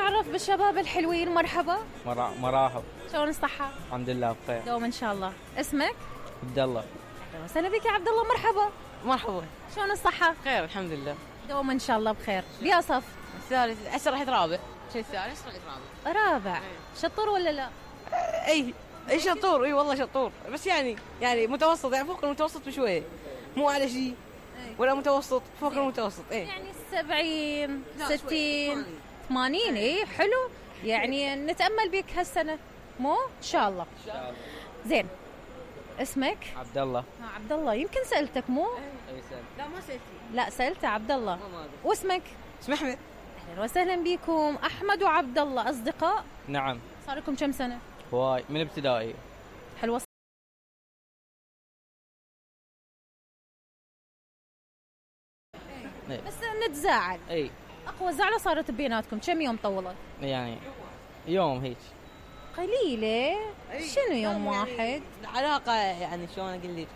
نتعرف بالشباب الحلوين. مرحبا. مرحبا. شلون الصحة؟ الحمد لله بخير. دوما ان شاء الله. اسمك؟ عبد الله. اهلا وسهلا بك يا عبد الله. مرحبا. مرحبا. شلون الصحة؟ خير الحمد لله. دوما ان شاء الله بخير. بيا صف؟ الثالث. هسه رحت رابع. شو الثالث؟ رحت رابع. شطور ولا لا؟ اي شطور. اي والله شطور، بس يعني متوسط، يعني فوق المتوسط بشويه، مو على شيء ولا متوسط، فوق المتوسط. يعني 70 60 80. اي حلو، يعني نتأمل بك هالسنة مو ان شاء الله. زين، اسمك؟ عبد الله. عبد الله. يمكن سألتك مو؟ اي سألت. لا ما سألتي. لا سألت عبد الله. واسمك؟ اسمي احمد. اهلا وسهلا بكم. احمد وعبد الله اصدقاء؟ نعم. صار لكم كم سنة؟ هواي من ابتدائي. حلوة. بس نتزاعل. اي اقوى زعلة صارت بيناتكم كم يوم طولت؟ يعني يوم هيك قليلة. شنو يوم واحد؟ العلاقة يعني شلون اقول لك،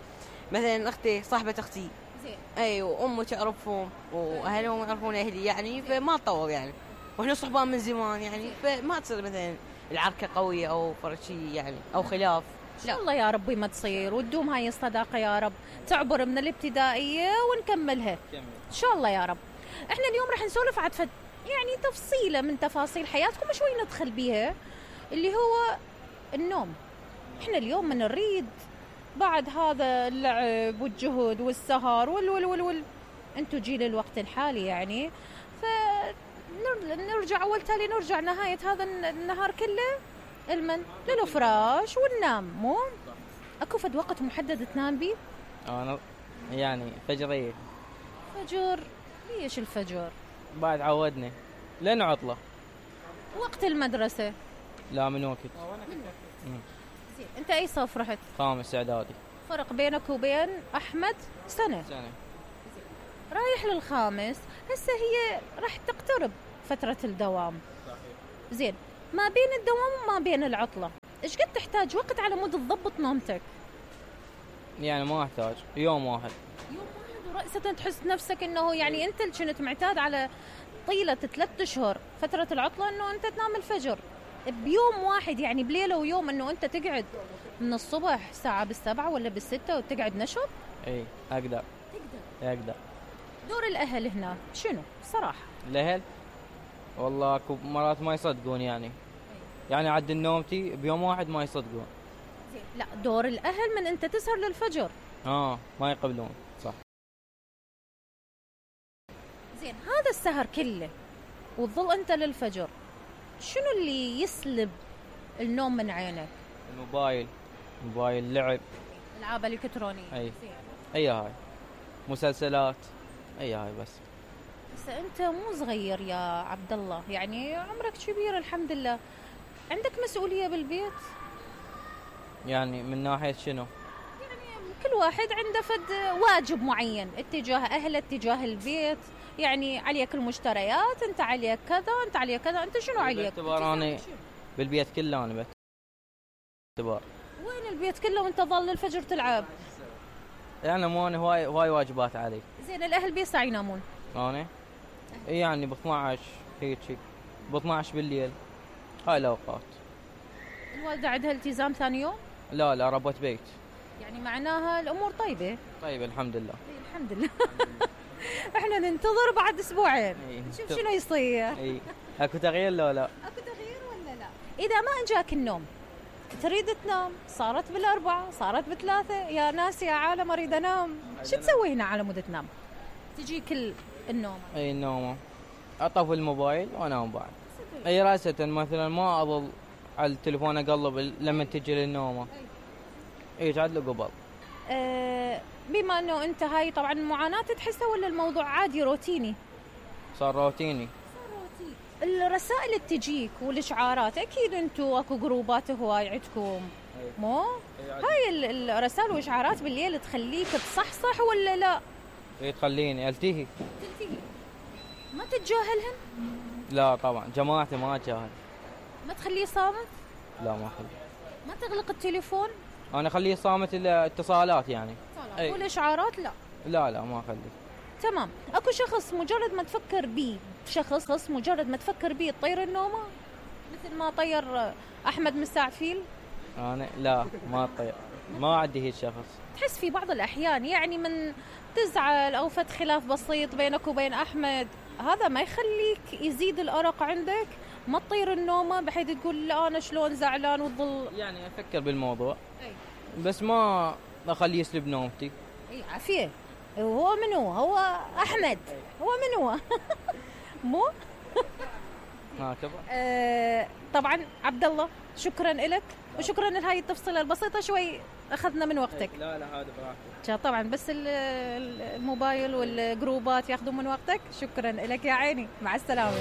مثلا اختي صاحبة اختي، زين. اي وامي تعرفهم واهلهم يعرفون اهلي، يعني فما تطول يعني، واحنا صحبان من زمان يعني، فما تصير مثلا العركة قوية او فرق شيء يعني او خلاف. ان شاء الله يا ربي ما تصير، وتدوم هاي الصداقة يا رب، تعبر من الابتدائية ونكملها ان شاء الله يا رب. احنا اليوم رح نسولف عن يعني تفصيلة من تفاصيل حياتكم شوي ندخل بيها، اللي هو النوم. احنا اليوم من نريد بعد هذا اللعب والجهد والسهر وال انتو جيل الوقت الحالي يعني، فنرجع اول تالي نرجع نهاية هذا النهار كله للفراش وننام. مو اكو فد وقت محدد تنام بيه؟ انا يعني فجرية. فجر؟ ليش الفجر؟ بعد عودني لين عطلة. وقت المدرسة؟ لا من وقت. زين، انت اي صف رحت؟ خامس اعدادي. فرق بينك وبين احمد سنة. رايح للخامس، هسه هي راح تقترب فترة الدوام. زين، ما بين الدوام وما بين العطلة ايش قد تحتاج وقت على مود تضبط نومتك؟ يعني ما احتاج يوم واحد. يوم واحد ورأسة تحس نفسك انه يعني انت اللي كنت معتاد على طيلة 3 أشهر فترة العطلة انه انت تنام الفجر، بيوم واحد يعني بليلة ويوم انه انت تقعد من الصبح ساعة بالسبعة ولا بالستة وتقعد نشط؟ اي اقدر. اقدر. دور الاهل هنا شنو صراحة؟ الاهل والله اكو مرات ما يصدقون يعني عد نومتي بيوم واحد ما يصدقون. لا، دور الاهل من انت تسهر للفجر ما يقبلون. صح. زين، هذا السهر كله وتظل انت للفجر، شنو اللي يسلب النوم من عينك؟ الموبايل، لعب، العاب الكترونيه. اي هاي مسلسلات، اي هاي بس انت مو صغير يا عبد الله، يعني عمرك كبير الحمد لله، عندك مسؤوليه بالبيت؟ يعني من ناحيه شنو؟ يعني كل واحد عنده فد واجب معين اتجاه اهله اتجاه البيت، يعني عليك المشتريات، انت عليك كذا، انت عليك كذا، انت شنو عليك؟ باعتبار انا بالبيت كله انا باعتبار. وين البيت كله وانت ظل الفجر تلعب؟ يعني مو انا هواي واجبات علي. زين، الاهل بيسع ينامون؟ انا يعني ب 12 هيك ب 12 بالليل هاي الاوقات. الوالده عندها التزام ثاني يوم؟ لا ربة بيت، يعني معناها الامور طيبه. طيب الحمد لله. الحمد لله. احنا ننتظر بعد اسبوعين نشوف شنو يصير. اكو تغيير لا؟ اكو تغيير ولا لا؟ اذا ما اجاك النوم تريد تنام، صارت بالاربعة صارت بثلاثة، يا ناس يا عالم اريد انام، شو تسوي هنا على مود تنام؟ تجيك النوم؟ النوم اطفي الموبايل وانام بعد. اي راسة مثلا ما اظل على التليفون اقلب لما تجي للنومه، يقعد له قبل. بما انه انت هاي طبعا معاناة تحسها ولا الموضوع عادي روتيني؟ صار روتيني. الرسائل اللي تجيك والاشعارات اكيد انتوا اكو جروبات هواي عندكم مو؟ هاي الرسائل والاشعارات بالليل تخليك تصحصح ولا لا؟ تخليني التهي. ما تتجاهلهن؟ لا طبعا جماعتي ما اتجاهل. ما تخليه صامت؟ لا ما اخليه. ما تغلق التليفون؟ انا اخليه صامت الاتصالات يعني. والاشعارات لا ما اخليه. تمام. اكو شخص مجرد ما تفكر بيه شخص مجرد ما تفكر بيه تطير النومة مثل ما طير أحمد مستعفيل؟ انا لا ما اطير، ما عندي هيك شخص. تحس في بعض الأحيان يعني من تزعل أو فت خلاف بسيط بينك وبين أحمد، هذا ما يخليك يزيد الأرق عندك؟ ما تطير النومة بحيث تقول لا أنا شلون زعلان وتظل يعني افكر بالموضوع أي. بس ما اخليه يسلب نومتي. اي عافية. هو منو؟ هو أحمد. هو منو؟ مو؟ هكذا. طبعا عبد الله شكرا لك وشكرا لهاي التفصيلة البسيطة، شوي أخذنا من وقتك. لا هذا براحتك. طبعا بس الموبايل والجروبات ياخذون من وقتك. شكرا لك يا عيني، مع السلامة.